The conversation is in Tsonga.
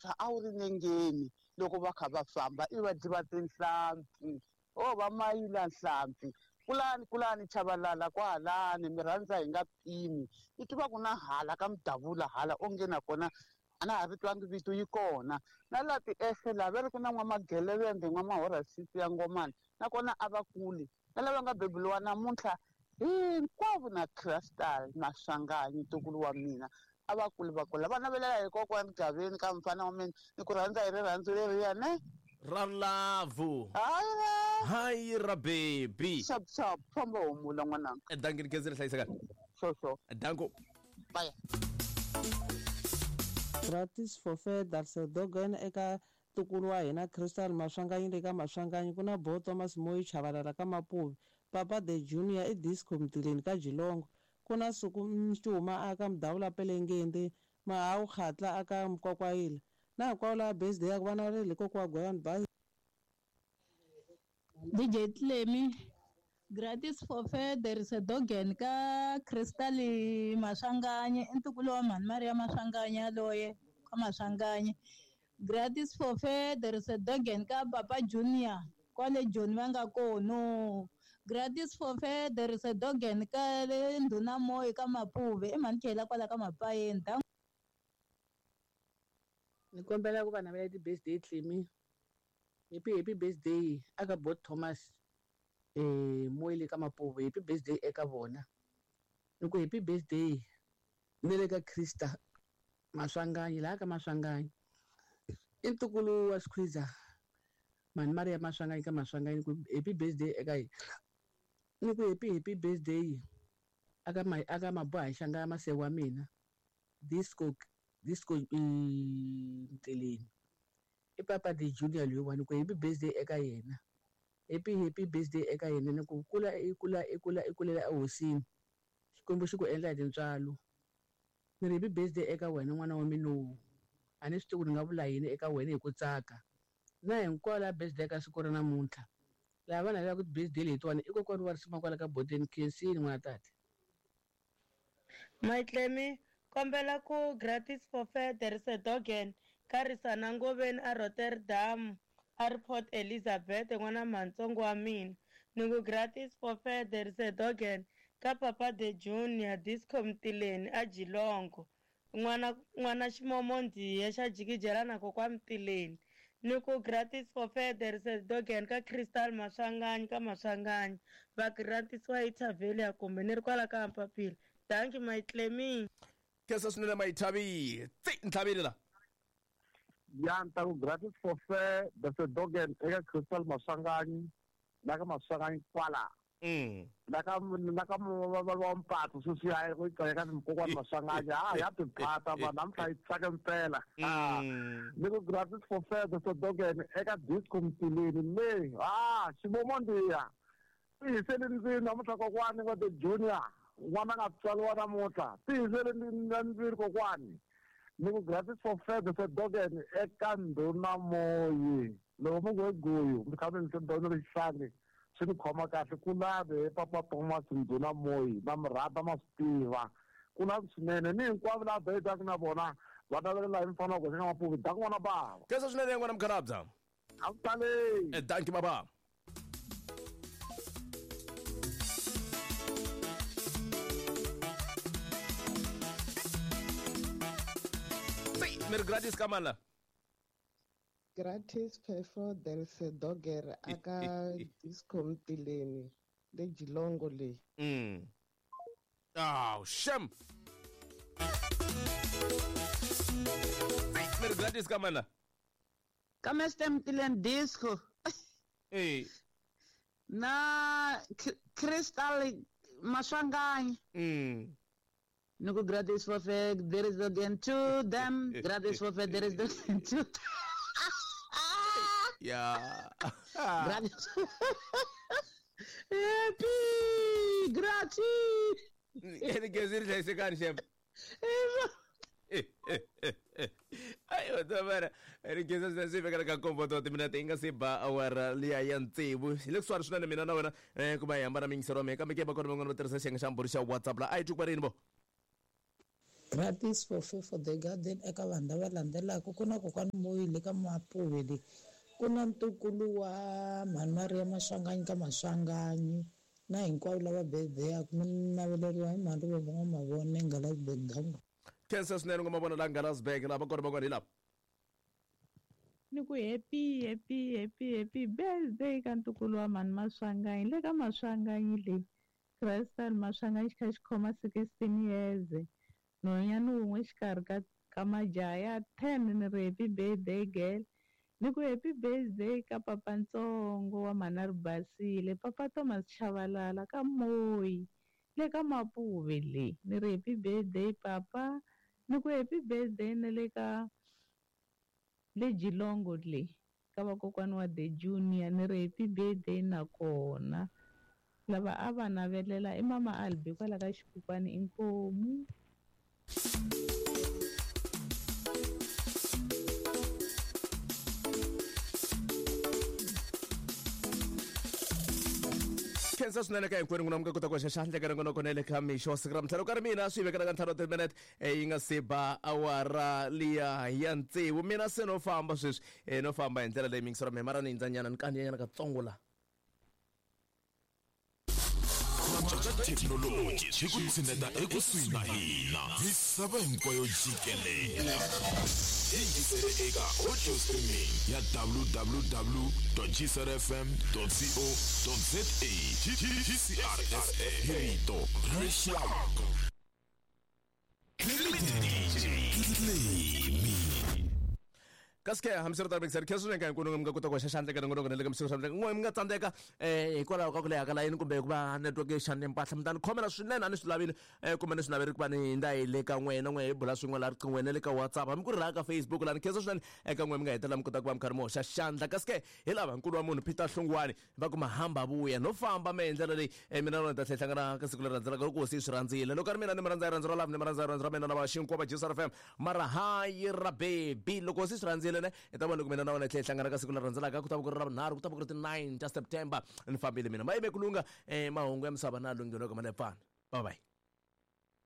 Mphatlha a wu ri nengeni loko va kha va famba i va dyi va tinhlampfi o va mayila nhlampfi kulani kulani Chabalala kwahalani mi rhandza hi nga pimi i tiva ku na hala ka Mudavula hala onge nakona a na ha ri twangi vito yi kona na la tiehle laha va ri ku na n'wamagelevende n'wamahorasisi ya ngomani nakona a va kuli na lava nga beburiwa namuntlha hinkwavo na Crystal Maswanganyi ntukulu wa mina a va kuli va kula va navelela hi kokwani Gaveni ka mfana wa mina ni ku rhandza hi rirhandzu leriya ne ra love hayi re hayi ra baby xap xap famba humula n'wananga danki ni khensile hlayisekani swoswo danko bye. Gratis for fair Darsedogan eka ntukulu wa hina Crystal Maswanganyi le ka Maswanganyi ku na Bo Thomas Moyi Chavalala ka Mapuve Papa the Junior i Disco Mtileni ka Jilongo ku na Suku Mcuma aka Mudavula Pelengende Mahawu Kgatla aka Mkwakwayila na hinkwavo lava birthday ya ku va na ri le kokwa Gwayan bye. DJ Tlemi gratis for fair there is a dogen ka Crystal Maswanganyi i ntukulu wa mhani Maria Maswanganyi yaloye ka Maswanganyi gratis for fair there is a dogen ka Papa Junior kwale Joni va nga kono gratis for fair there is a dogen ka le Ndhuna Moyi ka Mapuve i mhani Khela kwala ka Mapayeni ta ni kombela ku va navela ti-birthday Tlemi happy happy birthday aka Bot Thomas Moyi le ka Mapuve happy birthday eka vona ni ku happy birthday ni le ka Krista Maswanganyi laha ka Maswanganyi i ntukulu wa Squeezer mhani Maria Maswanganyi ka Maswanganyi ku happy birthday eka yena ni ku happy happy birthday aka ma aka maboha xanga masewu wa mina disco disco Mtileni i Papa the Junior loyiwani ku happy birthday eka yena happy happy birthday eka yena ni ku kula i kula i kula i kulela ehosini Xikwembu xi ku endla hi tintswalo ni ri happy birthday eka wena n'wana wa mina lowu a ni swi tivi ku ni nga vula yini eka wena hi ku tsaka na hinkwavo laha birthday ka siku ra namuntlha laha va navelaka ti-birthday letiwani i kokwani wa risima kwala ka Boteni Khensini n'wana tata. Maitlemi kombela ku gratis for fair there is a dogen ka Risana Ngoveni a Rotterdam a ri Port Elizabeth n'wana mhantsongo wa mina ni ku gratis for fair there is a dogen ka Papa the Junior Disco Mtileni a Jilongo n'wana n'wana ximomondiya xa jikijela na kokwa Mtileni ni ku gratis for fair there is a dogen ka Crystal Maswanganyi ka Maswanganyi va gratisiwa hi Tavelia kumbe ni ri kwala ka Mpapila thank you Maitlemi. Khensa swinene Maithavi tsi ntlhavile la ya ni ta ku gratis for fair there's a dogen eka Crystal Maswanganyi la ka Maswanganyi kwala la ka la ka wa mpatso sweswiya ku yi ka kokwani Maswanganyi ha ya tiphata vanhu namuntlha yi tsake mpela ni ku gratis for fair there's a dogen eka Disco Mtileni le ha xivomondiya ti hisele ndzilo namuntlha kokwani wa the Junior n'wana nga tswariwa namuntlha ti hisele ndzilo kokwani ni ku gratis for fair there's a dogen eka Ndhuna Moyi loko mu ku guyu mi kha mi ni ri xihlangi swi ni khoma kahle ku lave Papa Thomas Ndhuna Moyi na mi rhandza ma swi tiva ku na swinene ni hinkwavo lava beyidaka na vona va navelela hi mfana wa goxa ka Mapuve da kun'wana bava khensa swinene n'wana mukhalabya a ku taleni danki baba. Tsi mi ri gratis ka mani la Gratis for there is a doger aka Disco Mtileni le Jilongo leyi. Oh, shem. Mi ri gratis ka mani la Ka Mr Mtileni Disco na Crystal Maswanganyi. Ni ku gratis for fair there is again to them gratis for fair there is again to ya gratis happy gratis ni gezi ri hlayisekani xef ayo tovera ri geza swinene swi vekela ka nkombo to timinete yi nga se ba awara liya ya tsevu hi le kusuhani swinene mina na wena ku va hi hambana miyingiselo wa mehe kambe ke va kona van'wana va tirhisa xiyenge xa mbhuri xa WhatsApp la a yi twi ku va rini vo. Gratis for Fair for the Garden eka vanhu lava landzelaka. Ku na kokwani Moyile ka Mapuve, ku na ntukulu wa Mhani Maria Maswanganyi ka Maswanganyi, na hinkwavo lava birthday-aku. Mi naveleriwa hi mhani Rivombo N'wamavone Ngalasberg Dango. Khensa swinene N'wamavona la Ngalasberg, lava kona van'wana hi lava. Ni ku happy happy happy happy birthday ka ntukulu wa Mhani Maswanganyi le ka Maswanganyi le Crystal Maswanganyi xi kha xi khoma 16 years, nhwanyana wun'we xikarhi ka majaha ya 10. Ni ri happy birthday girl. Ni ku happy birthday ka papa ntsongo wa Mhani Ribasile, papa Thomas Chavalala ka Moyi le ka Mapuve le. Ni ri happy birthday papa. Ni ku happy birthday na le ka le Jilongo le ka vakokwani wa The Junior. Ni ri happy birthday nakona lava a va navelela i mama Albi kwala ka Xikukwani. Inkomu. Khensa swinene ka hinkwenu n'wina mi nga kota ku hoxa xandla ka nongonoko na le ka mixo wa siku ra mtlhelo ka ri mina swi vekela ka ntlhanu timinete yi nga se ba awara liya ya tsevu. Mina se no famba sweswi, no famba hi ndlela leyi mingisela mehe, mara ni hindzanyana ni kandziyanyana katsongo la. Thekinoloji swi ku tshineta ekusuhi na hina misava hinkwayo jikelele. Yingisele eka audio streaming ya www.gcrfm.co.za. GCRFM, hi rito ra rixaka. Clemi. Kasi ke hambiswiritano mixer khensa swinene ka hinkwenu mi nga kota ku hoxa xandla ka nongonoko na le ka misiku swa n'we mi nga tsandzeka hikwalaho ka ku leha ka layeni kumbe hikuva network yi xane mpahla, mi ta ni khomela swinene. A ni swi lavile kumbe ni swi naveri ku va ni hindza hi le ka n'wena n'we hi bula swin'we laha riqinghweni na le ka WhatsApp, hambi ku ri laha ka Facebook laha. Ni khensa swinene eka n'we mi nga hetelela mi kota ku va mi karhi mi hoxa xandla. Kasi ke hi lava nkulu wa munhu Peter Hlungwani va ku mahamba vuya no famba me hi ndlela leyi. Mina na ta tlhela hlangana ka siku leri landzelaka loko hosi yi swi rhandzile. Loko a ri mina ni mi rhandza hi rhandzu ra love, ni mi rhandza hi rhandzu ra mina na va xinkwa va Jisr FM, mara hayi ra baby. Loko hosi yi swi rhandzile ne hi ta vona loko mina na wena hi tlhela hi hlangana ka siku leri landzelaka, ku ta va ku ri ra vunharhu, ku ta va ku ri ti 9 ta September. Ni fambile mina, ma yime ku lunga mahungu ya misava na lunghelo ka malepfana. Bye bye.